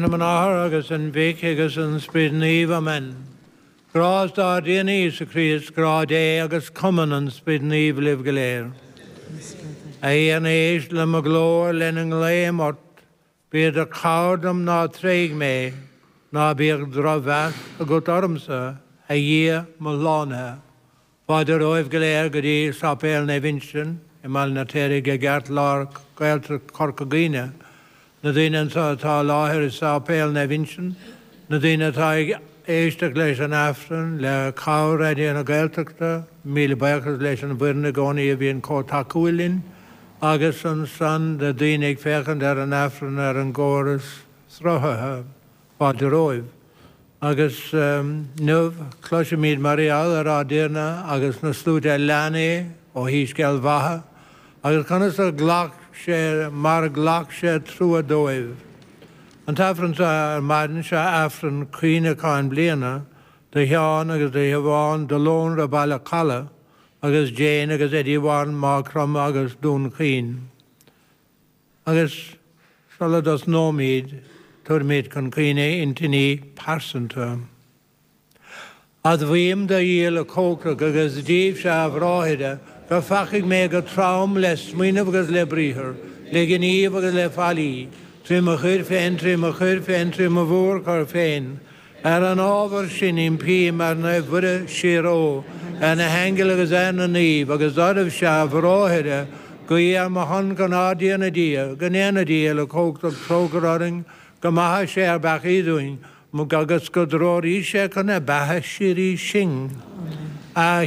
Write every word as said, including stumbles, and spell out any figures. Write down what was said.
Ainm an Athar agus an Mhic agus an Sprid Naomh Amen. Grásta ár dTiarna Íosa Críost, grá Dé agus cumann an Sprid Naomh libh go léir. A Thiarna éist le mo ghlór lena nglaoim ort, bí i do chabhair dom ná tréig mé, ná bíodh drochmheas agat ormsa, a Dhia mo shlánaithe. Fáilte romhaibh go léir go dtí Sáipéal Naomh Uinseann i mBaile an Fheirtéaraigh i gceartlár Gaeltacht Chorca Dhuibhne. Na daoine anseo atá i láthair i Sáipéal Naomh Uinseann, na daoine atá ag éisteacht leis an Aifreann le cabhair Raidió na Gaeltachta, míle buíochas leis an bhfoireann i gcónaí a bhíonn chomh tacúil linn, agus ansan na daoine ag féachaint ar an Aifreann ar an gcóras sruthaithe, fáilte romhaibh. Agus inniu, cloisfimid mar gheall ar ár dTiarna agus na sluaite a lean é ó Shoiscéal Mhatha, agus conas a ghlac sé mar a ghlac sé trua dóibh. An t-aifreann seo ar maidin seo Aifreann Cuimhneacháin Bliana do Sheán agus do Shiobhán de Lónra Baile Chalaidh agus Jane agus Eddie Warren Maigh Chromtha agus Dún Chaoin. Agus sula dtosnóimid, tabharfaimid chun cuimhne intinní pearsanta. Admhaím do Dhia uilechumhachtach agus daoibhse a bhráithre, gur pheacaigh mé go trom le smaoineamh agus le briathar, le gníomh agus le faillí, trí mo choir féin, trí mo choir féin, trí mo mhórchoir féin. Ar an ábhar sin impím ar Naomh Muire Síor-Fhiodh, ar na haingil agus ar na naoimh, agus oraibhse a bhráithre, guí ar mo shon chun ár dTiarna Dia, go ndéana Dia uilechumhachtach trócaire orainn, go maithe sé ár bpeacaí dúinn, agus go dtreoraí sé chun na beatha síoraí sinn. A